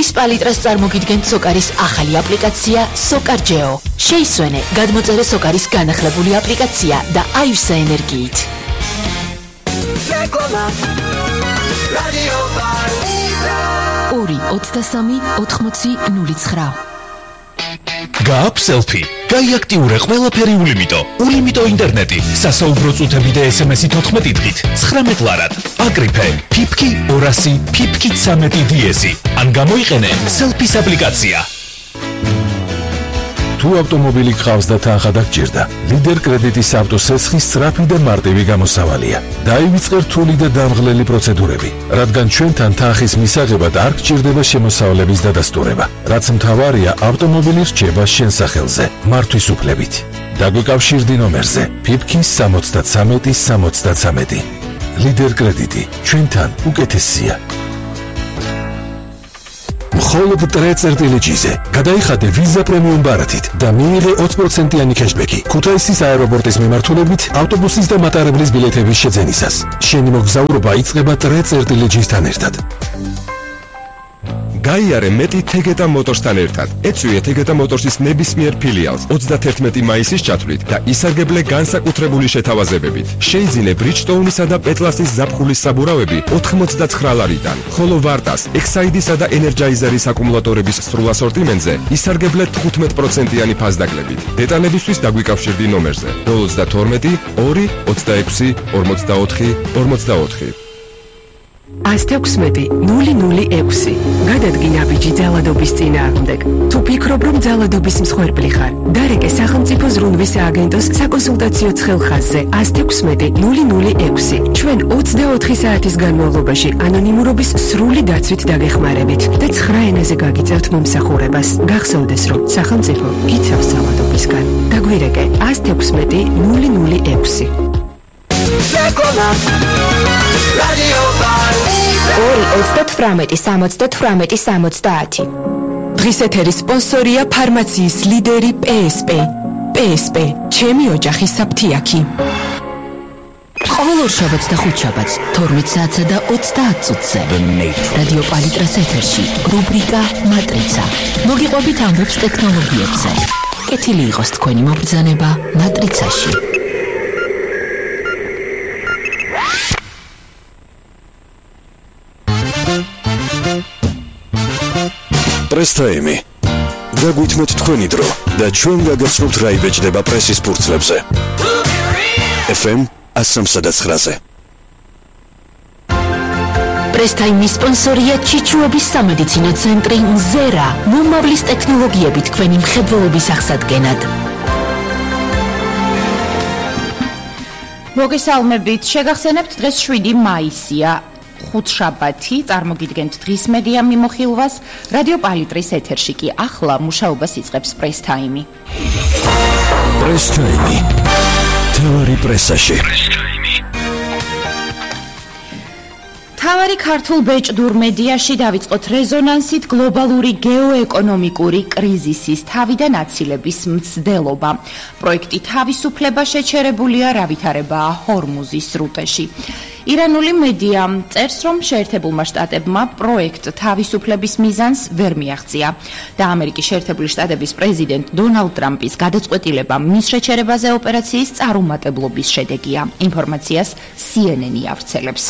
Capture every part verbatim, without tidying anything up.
დღის პალიტრას წარმოგიდგენთ სოკარის ახალი აპლიკაცია SocarGeo. შეისვენე, გადმოწერე სოკარის განახლებული აპლიკაცია და აივსე ენერგიით. ორი ოცდასამი ოთხმოცი ნული ცხრა. გააქვს სელფი, გაიაქტიურე ყველაფერი ულიმიტო. ულიმიტო ინტერნეტი, სასაუბრო წუთები და ესემესი თოთხმეტი დღით, ცხრამეტ ლარად. აკრიფე, ფიფკი ორასი, ფიფკი ცამეტი დიესი. ან გამოიყენე სელფის აპლიკაცია. თუ ავტომობილი გყავს და თანხა დაგჭირდა, ლიდერ კრედიტის ავტოსესხის სწრაფი და მარტივი გამოსავალია. დაივიწყე რთული და დამღლელი პროცედურები, რადგან ჩვენთან თანხის მისაღებად არ გჭირდება შემოსავლების დადასტურება. რაც მთავარია, ავტომობილი რჩება შენ სახელზე, მართვის უფლებით. დაგვიკავშირდი ნომერზე ფიფკი სამოცდათრამეტი სამოცდათრამეტი. ლიდერ კრედიტი, ჩვენთან უკეთესია. მხოლოდ ტრე-წერტილიჯიზე გადაიხადე ვიზა პრემიუმ ბარათით და მიიღე ოცი პროცენტიანი კეშბექი ქუთაისის აეროპორტის მიმართულებით ავტობუსის და მატარებლის ბილეთების შეძენისას. შენი მოგზაურობა იწყება ტრე-წერტილიჯისთან ერთად. გაიარე მეტი თეგეტა მოტორსთან ერთად. ეწვიე თეგეტა მოტორსის ნებისმიერ ფილიალს ოცდათერთმეტი მაისის ჩათვლით და ისარგებლე განსაკუთრებული შეთავაზებებით. შეიძინე ბრიჯტოუნისა და პეტლასის ზაფხულის საბურავები ოთხმოცდაცხრა ლარიდან, ხოლო ვარტას, ექსაიდისა და ენერჯაიზერის აკუმულატორების სრულ ასორტიმენტზე ისარგებლე თხუთმეტ პროცენტიანი ფასდაკლებით. დეტალებისთვის დაგვიკავშირდი ნომერზე ნული ოცდათორმეტი ორი ოცდაექვსი ორმოცდაოთხი ორმოცდაოთხი. ასთექვსმეტი ნული ნული ექვსი. გადადგინა ბიჭი ძალადობის წინააღმდეგ. თუ ფიქრობ, რომ ძალადობის მსხვერპლი ხარ, დარეკე სახელმწიფო ზრუნვის სააგენტოს საკონსულტაციო ცხელხაზზე ასთექვსმეტი ნული ნული ექვსი. ჩვენ ოცდაოთხი საათის განმავლობაში ანონიმურობის სრული დაცვით დაგეხმარებით და ცხრა ენაზე გაგიწევთ მომსახურებას. გახსოვდეს, რომ სახელმწიფო გიცავს ძალადობისგან. დაგვირეკე ასთექვსმეტი ნული ნული ექვსი. ორი ოცდათვრამეტი სამოცდათვრამეტი სამოცდაათი. დღის ეთერის სპონსორია ფარმაციის ლიდერი პსპ. პსპ, ჩემი ოჯახის საფთიაქი. ყოველ ორშაბათს და ხუთშაბათს თორმეტ საათსა და ოცდაათ წუთზე რადიო პალიტრას ეთერში რუბრიკა მატრიცა. მოგიყვებით ამბებს ტექნოლოგიებზე. კეთილი იყოს თქვენი მობრძანება მატრიცაში. პრესტაიმი. დაგვითმოთ თქვენი დრო და ჩვენ გაგაცნობთ რა იბეჭდება პრესის ფურცლებზე. ეფ ემ ასი ცხრაზე. პრესტაიმის სპონსორია ჩიჩუების სამედიცინო ცენტრი მზერა. მომავლის ტექნოლოგიები თქვენი მხედველობის აღსადგენად. მოგესალმებით, შეგახსენებთ დღეს შვიდი მაისია. ხუთშაბათი, წარმოგიდგენთ დღის მედია მიმოხილვას, რადიო პალიტრის ეთერში კი ახლა მუშაობას იწყებს პრესტაიმი. პრესტაიმი. თავარი პრესაში. თავარი ქართულ ბეჭდურ მედიაში დავიწყოთ რეზონანსით გლობალური გეოეკონომიკური კრიზისის თავიდან აცილების მცდელობა. პროექტი თავისუფლება შეჩერებულია რავითარებაა ჰორმუზის სრუტეში. ირანული მედია წერს, რომ შეერთებულმა შტატებმა პროექტ თავისუფლების მიზანს ვერ მიაღწია და ამერიკის შეერთებული შტატების პრეზიდენტ დონალდ ტრამპის გადაწყვეტილება მის შეჩერებაზე ოპერაციის წარუმატებლობის შედეგია. ინფორმაციას სი ენ ენი ავრცელებს.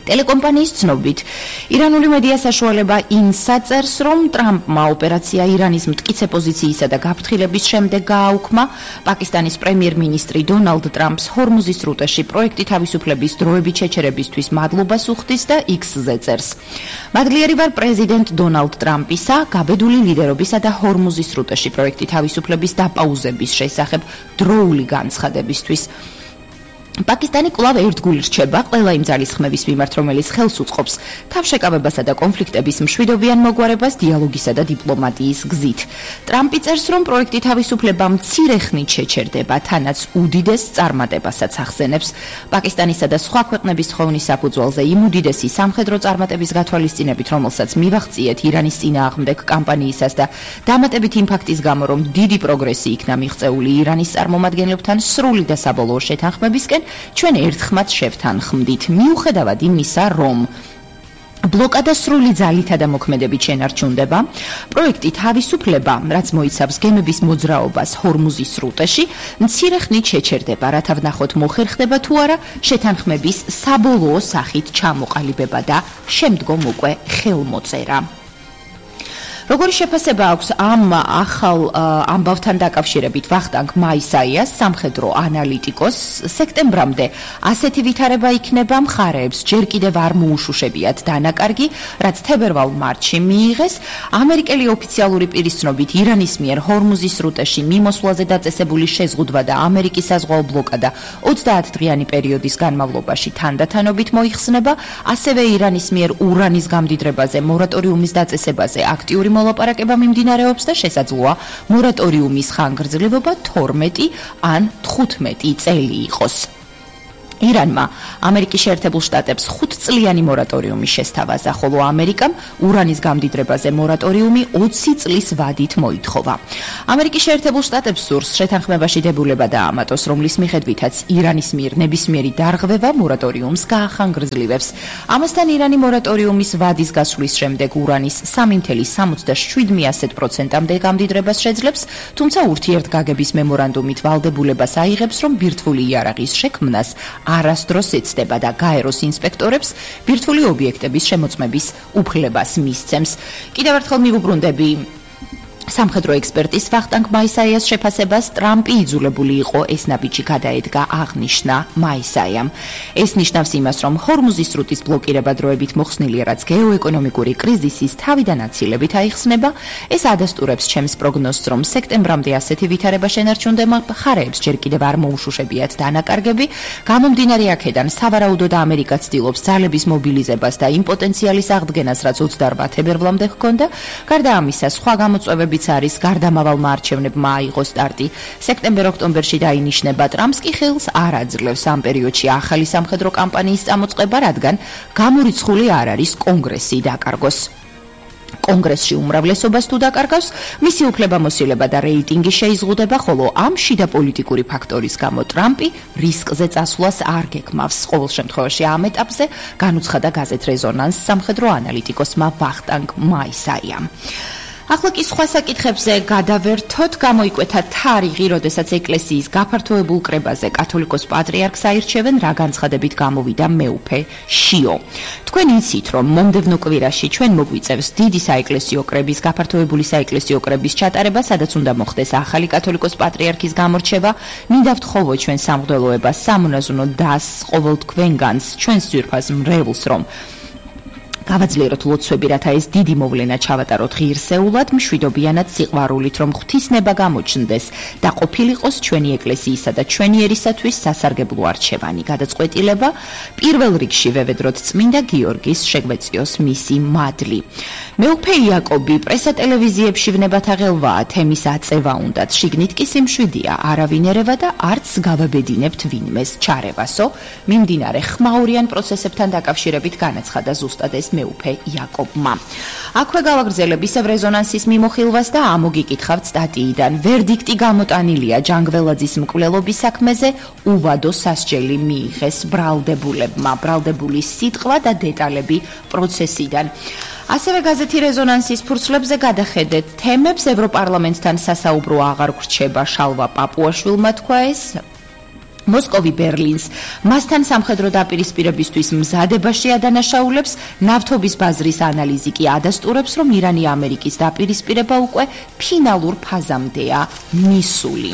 ტელეკომპანიის ცნობით, ირანული მედია საშუალება ინსა წერს, რომ ტრამპმა ოპერაცია ირანის მტკიცე პოზიციისა და გაფრთხილების შემდეგ გააუქმა. პაკისტანის პრემიერ-მინისტრი დონალდ ტრამპს ჰორმუზის სრუტეში პროექტი თავისუფლების დროებით შეჩერებისთვის მადლობას უხდის და იქსზე წერს. მადლიერი ვარ პრეზიდენტ დონალდ ტრამპისა, გაბედული ლიდერობისა და ჰორმუზის სრუტეში პროექტი თავისუფლების დაპაუზების შესახებ დროული განცხადებისთვის. პაკისტანი კვლავ ერთგული რჩება ყველა იმ ძალისხმების მიმართ, რომელიც ხელს უწყობს თავშეკავებასა და კონფლიქტების მშვიდობიან მოგვარებას დიალოგისა და დიპლომატიის გზით. ტრამპი წერს, რომ პროექტი თავისუფლება მცირე ხნით შეჩერდება, თანაც უდიდეს წარმატებასაც ახსენებს. პაკისტანისა და სხვა ქვეყნების ხოვნის საფუძველზე იმ უდიდესი სამხედრო წარმატების გათვალისწინებით, რომელსაც მივაღწიეთ ირანის წინააღმდეგ კამპანიისას და დამატებით იმ ფაქტის გამო, რომ დიდი პროგრესი იქნა მიღწეული ირანის წარმომადგენლებთან სრული და საბოლოო შეთანხმებისკენ, ჩვენ ერთხმად შევთანხმდით, მიუხედავად იმისა, რომ ბლოკადა სრული ძალითა და მოქმედებით შენარჩუნდება. პროექტი თავისუფლება, რაც მოიცავს გემების მოძრაობას ჰორმუზის სრუტეში, მცირე ხნით შეჩერდება, რათა ვნახოთ მოხერხდება თუ არა შეთანხმების საბოლოო სახით ჩამოყალიბება და შემდგომ უკვე ხელმოწერა. როგორი შეფასება აქვს ამ ახალ ამბავთან დაკავშირებით ვახტანგ მაისაიას, სამხედრო ანალიტიკოსს, სექტემბრამდე ასეთი ვითარება იქნება, მხარეებს ჯერ კიდევ არ მოუშუშებიათ დანაკარგი, რაც თებერვალ-მარტში მიიღეს. ამერიკელი ოფიციალური პირის ცნობით ირანის მიერ ჰორმუზის სრუტეში მიმოსვლაზე დაწესებული შეზღუდვა და ამერიკის საზღვაო ბლოკადა ოცდაათდღიანი პერიოდის განმავლობაში თანდათანობით მოიხსნება, ასევე ირანის მიერ ურანის გამდიდრებაზე მორატორიუმის დაწესებაზე აქტიური მოლაპარაკება მიმდინარეობს და შესაძლოა მორატორიუმის ხანგრძლივობა თორმეტი ან თხუთმეტი წელი იყოს. ირანმა ამერიკის შეერთებულ შტატებს ხუთწლიანი მორატორიუმი შესთავაზა, ხოლო ამერიკამ ურანის გამდიდრებაზე მორატორიუმი ოცი წლის ვადით მოითხოვა. ამერიკის შეერთებულ შტატებს სურს შეთანხმებაში დებულება დაამატოს, რომლის მიხედვითაც ირანის მიერ ნებისმიერი დარღვევა მორატორიუმს გაახანგრძლივებს. ამასთან ირანი მორატორიუმის ვადის გასვლის შემდეგ ურანის სამი წუთი შვიდმეათე პროცენტამდე გამდიდრებას შეძლებს, თუმცა ურთიერთგაგების მემორანდუმით ვალდებულებას აიღებს, რომ ბირთვული იარაღის შექმნას არასდროს ეცდება და გაეროს ინსპექტორებს ბირთვული ობიექტების შემოწმების უფლებას მისცემს. კიდევ ერთხელ მივუბრუნდები სამხედრო ექსპერტის ვახტანგ მაისაიას შეფასებას, ტრამპი იძულებული იყო ეს ნაბიჯი გადაედგა, აღნიშნა მაისაიამ. ეს ნიშნავს იმას, რომ ჰორმუზის სრუტის ბლოკირება დროებით მოხსნილია, რაც გეოეკონომიკური კრიზისის თავიდან აცილებით აიხსნება. ეს ადასტურებს ჩემს პროგნოზს, რომ სექტემბრამდე ასეთი ვითარება შენარჩუნდება, მხარეებს ჯერ კიდევ არ მოუშუშებიათ დანაკარგები. გამომდინარე აქედან, სავარაუდოდ ამერიკა ცდილობს ძალების მობილიზებას და იმ პოტენციალის აღდგენას, რაც ოცდაორ თებერვლამდე ჰქონდა. გარდა ამისა, სხვა გამოწვევები არის გარდამავალმა არჩევნებმა აიღო სტარტი. სექტემბერ-ოქტომბერში დაინიშნება, ტრამპს კი ხელს არ აძლევს ამ პერიოდში ახალი სამხედრო კამპანიის წამოწყება, რადგან გამორიცხული არ არის კონგრესი დაკარგოს. კონგრესში უმრავლესობას თუ დაკარგავს, მისი უფლებამოსილება და რეიტინგი შეიზღუდება, ხოლო ამ შიდა პოლიტიკური ფაქტორის გამო ტრამპი რისკზე წასვლას არ გეკმავს. ყოველ შემთხვევაში ამ ეტაპზე განუცხადა გაზეთ რეზონანს სამხედრო ანალიტიკოსმა ვახტანგ მაისაიამ. ახლა კი სხვა საკითხებზე გადავერთოთ. გამოიკვეთა თარიღი, როდესაც ეკლესიის გაფართოებულ კრებაზე კათოლიკოს პატრიარქს აირჩევენ, რა განცხადებით გამოვიდა მეუფე შიო. თქვენ იცით, რომ მომდევნო კვირაში ჩვენ მოგვიწევს დიდი საეკლესიო კრების გაფართოებული საეკლესიო კრების ჩატარება, სადაც უნდა მოხდეს ახალი კათოლიკოს პატრიარქის გამორჩევა. მინდა ვთხოვოთ ჩვენ სამღვდელოებას, სამონაზვნო დასს, ყოველ თქვენგანს, ჩვენს ძვირფას მრევლს, რომ გავაძლიეროთ ლოცვები, რათა ეს დიდი მოვლენა ჩავატაროთ ღირსეულად, მშვიდობიანად, სიყვარულით, რომ ღვთისნება გამოჩნდეს და ყოფილიყოს ჩვენი ეკლესიისა და ჩვენი ერისათვის სასარგებლო არჩევანი. გადაწყვეტილება პირველ რიგში ვევედროთ წმინდა გიორგის შეგვეციოს მისი მადლი. მეუფე იაკობი პრესა ტელევიზიებში ვნებათა ღელვაა, თემის აწევა უნდათ, შიგნით კი სიმშვიდეა, არავინ ერევა და არც გავაბედინებთ ვინმეს ჩარევასო. მიმდინარე ხმაურიან პროცესებთან დაკავშირებით განაცხადა ზუსტად ეს მეუფე იაკობმა. აქვე გავაგრძელებ ისევ რეზონანსის მიმოხილვას და ამოგიკითხავთ სტატიიდან. ვერდიქტი გამოტანილია ჯანგველაძის მკვლელობის საქმეზე, უვადო სასჯელი მიიღეს ბრალდებულებმა. ბრალდებული სიტყვა და დეტალები პროცესიდან. ასევე გაზეთი რეზონანსის ფურცლებზე გადახედეთ თემებს. ევროპარლამენტთან სასაუბრო აღარ გრჩება, შალვა პაპუაშვილმა თქვა ეს. მოსკოვი ბერლინს მასთან სამხედრო დაპირისპირებისთვის მზადებაში ადანაშაულებს, ნავთობის ბაზრის ანალიზი კი ადასტურებს, რომ ირანი ამერიკის დაპირისპირება უკვე ფინალურ ფაზამდეა მისული.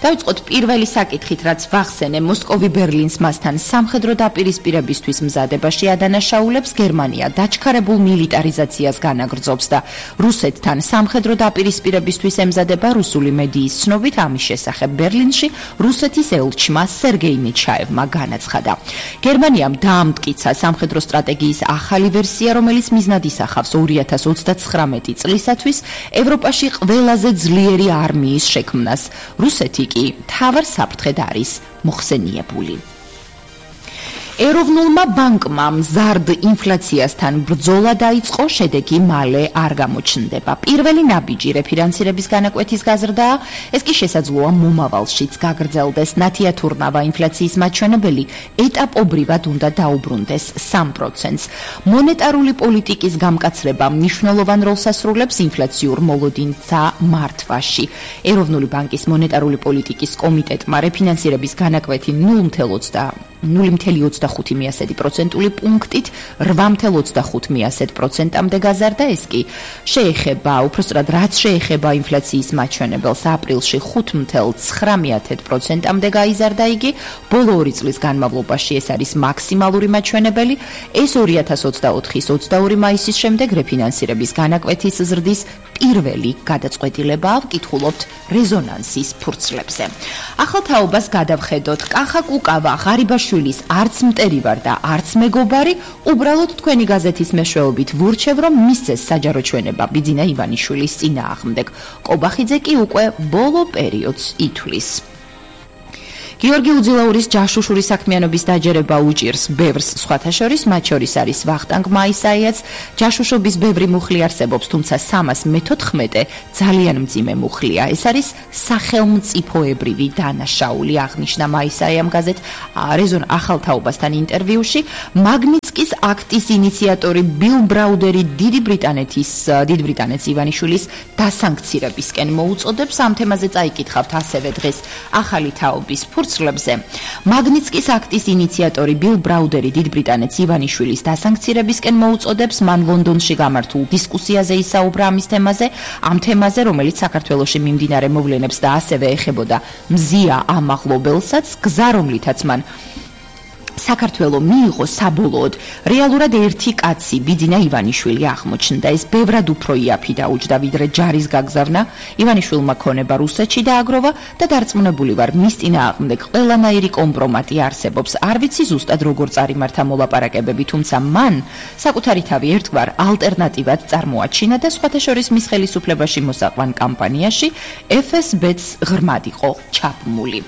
დავიწყოთ პირველი საკითხით, რაც ვახსენე, მოსკოვი ბერლინს მასთან სამხედრო დაპირისპირებისთვის მზადებაში ადანაშაულებს, გერმანია დაჩქარებულ მილიტარიზაციას განაგრძობს და რუსეთთან სამხედრო დაპირისპირებისთვის ემზადება. რუსული მედიის ცნობით, ამის შესახებ ბერლინში რუსეთის ელჩმა სერგეი ნეჩაევმა განაცხადა. გერმანიამ დაამტკიცა სამხედრო სტრატეგიის ახალი ვერსია, რომელიც მიზნად ისახავს ორი ათას ოცდაცხრამეტი წლისათვის ევროპაში ყველაზე ძლიერი არმიის შექმნას. რუსეთი კი მთავარ საფრთხედ არის მოხსენიებული. ეროვნულმა ბანკმა მზარდ ინფლაციასთან ბრძოლა დაიწყო, შედეგი მალე არ გამოჩნდება. პირველი ნაბიჯი რეფინანსირების განაკვეთის გაზრდაა, ეს კი შესაძლოა მომავალშიც გაგრძელდეს. ნათიათურნავა ინფლაციის მაჩვენებელი ეტაპობრივად უნდა დაუბრუნდეს სამ პროცენტს. მონეტარული პოლიტიკის გამკაცრება მნიშვნელოვან როლს ასრულებს ინფლაციურ მოლოდინთა მართვაში. ეროვნული ბანკის მონეტარული პოლიტიკის კომიტეტმა რეფინანსირების განაკვეთი ნული წამო ოცდახუთი პროცენტული პუნქტით რვა წამო ოცდახუთი პროცენტამდე გაზარდა. ეს კი შეეხება, უпроსტად რაც შეეხება ინფლაციის მაჩვენებელს, აპრილში ხუთ წამო ცხრა პროცენტამდე გაიზარდა იგი, ბოლო ორი წლის განმავლობაში ეს არის მაქსიმალური მაჩვენებელი. ეს ორი ათას ოცდაოთხის ოცდაორი მაისის შემდეგ რეფინანსირების განაკვეთის ზრდის პირველი გადაწყვეტილებაა. ვკითხულობთ რეზონანსის ფურცლებზე. ახალ თაობას გადავხედოთ. კახა კუკავა ღარიბაშვილის არც მტერი ვარ და არც მეგობარი, უბრალოდ თქვენი გაზეთის მეშვეობით ვურჩევ, რომ მისცეს საჯარო ჩვენება ბიძინა ივანიშვილის წინააღმდეგ. კობახიძე კი უკვე ბოლო პერიოდს ითვლის. გიორგი უძილაურის ჯაშუშური საქმიანობის დაჯერება უჭირს ბევრს, სხვათა შორის, მათ შორის არის ვახტანგ მაისაიაც. ჯაშუშობის ბევრი მუხლი არსებობს, თუმცა სამას მეთოთხმეტე ძალიან მძიმე მუხლია. ეს არის სახელმწიფოებრივი დანაშაული, აღნიშნა მაისაიამ გაზეთ რეზონ ახალ თაობასთან ინტერვიუში. მაგნიცკის აქტის ინიციატორი ბილ ბრაუდერი დიდი ბრიტანეთის დიდი ბრიტანეთის ივანიშვილის დასანქცირებისკენ მოუწოდებს. ამ თემაზე წაიკითხავთ ასევე დღეს ახალი თაობის ფურცლებზე. მაგნიცკის აქტის ინიციატორი ბილ ბრაუდერი დიდ ბრიტანეთის ივანიშვილის დასანქცირებისკენ მოუწოდებს. მან ლონდონში გამართულ დისკუსიაზე ისაუბრა ამის თემაზე, ამ თემაზე, რომელიც საქართველოში მიმდინარე მოვლენებს და ასევე ეხებოდა მზია ამაღლობელსაც, გზა რომლითაც მან საქართველო მიიღო საბოლოოდ რეალურად ერთი კაცი ბიძინა ივანიშვილი აღმოჩნდა. ეს ბევრად უფრო იაფი დაუჯდა ვიდრე ჯარის გაგზავნა. ივანიშვილმა ქონება რუსეთში დააგროვა და დარწმუნებული ვარ, მის წინააღმდეგ ყველანაირი კომპრომატი არსებობს. არ ვიცი ზუსტად როგორ წარიმართა მოლაპარაკებები, თუმცა მან საკუთარი თავი ერთგვარ ალტერნატივად წარმოაჩინა და სხვათა შორის მის ხელისუფლებაში მოსაყვან კამპანიაში ეფ ეს ბეც ღრმად იყო ჩაბმული.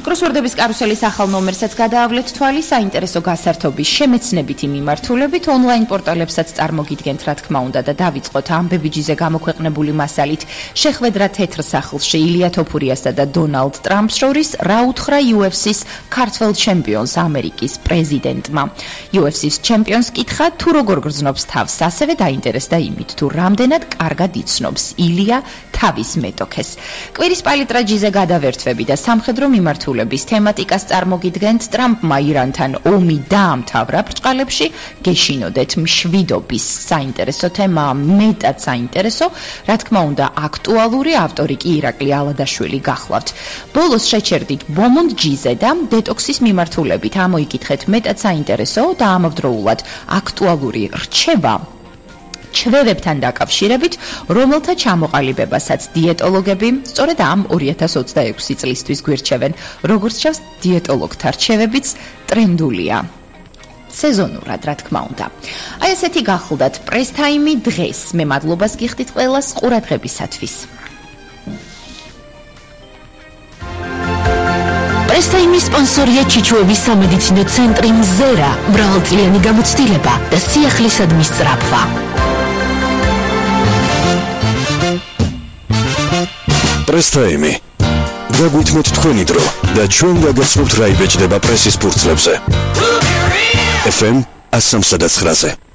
კროსვორდების კარუსელის ახალ ნომერსაც გადაავლეთ თვალი, საინტერესო გასართობის შემეცნებითი მიმართულებით ონლაინ პორტალებსაც წარმოგიდგენთ, რა თქმა უნდა, და დავიწყოთ ამბებიჯიზე გამოქვეყნებული მასალით. შეხვედრა თეთრ სახლში ილია თოფურიასა და დონალდ ტრამპს შორის რა უთხრა იუ ეფ სის ქართველ ჩემპიონს ამერიკის პრეზიდენტმა. იუ ეფ სის ჩემპიონს კითხა, თუ როგორ გრძნობს თავს, ასევე დაინტერესდა იმით, თუ რამდენად კარგად იცნობს ილია თავის მეტოქეს. კვირის პალიტრაჯიზე გადავერთვები და სამხედრო მიმართულების თემატიკას წარმოგიდგენთ. ტრამპმა ირანთან ომი დაამთავრა ბრჭყალებში, გეშინოდეთ მშვიდობის საინტერესო თემა, მეტად საინტერესო, რა თქმა უნდა, აქტუალური, ავტორი კი ირაკლი ალადაშვილი გახლავთ. ბოლოს შეჩერდით ბომონდ ჯიზე და დეტოქსის მიმართულებით ამოიკითხეთ მეტად საინტერესო და ამავდროულად აქტუალური რჩევა ჩვევებთან დაკავშირებით, რომელთა ჩამოყალიბებასაც დიეტოლოგები სწორედ ამ ორი ათას ოცდაექვსი წლისთვის გვირჩევენ. როგორც ჩანს, დიეტოლოგთა რჩევებიც ტრენდულია. სეზონურად, რა თქმა უნდა. აი ესეთი გახლდათ პრესტაიმი დღეს. მე მადლობას გიხდით ყველას ყურადღებისათვის. პრესტაიმის სპონსორია ჩიჩუების სამედიცინო ცენტრი მზერა, მრავალწლიანი გამოცდილება და სიახლისადმი სწრაფვა. პრესტაიმი. გაგვითმოთ თქვენი დრო და ჩვენ გაგაცნობთ რა იბეჭდება პრესის ფურცლებზე. ეფ ემ one oh three point nine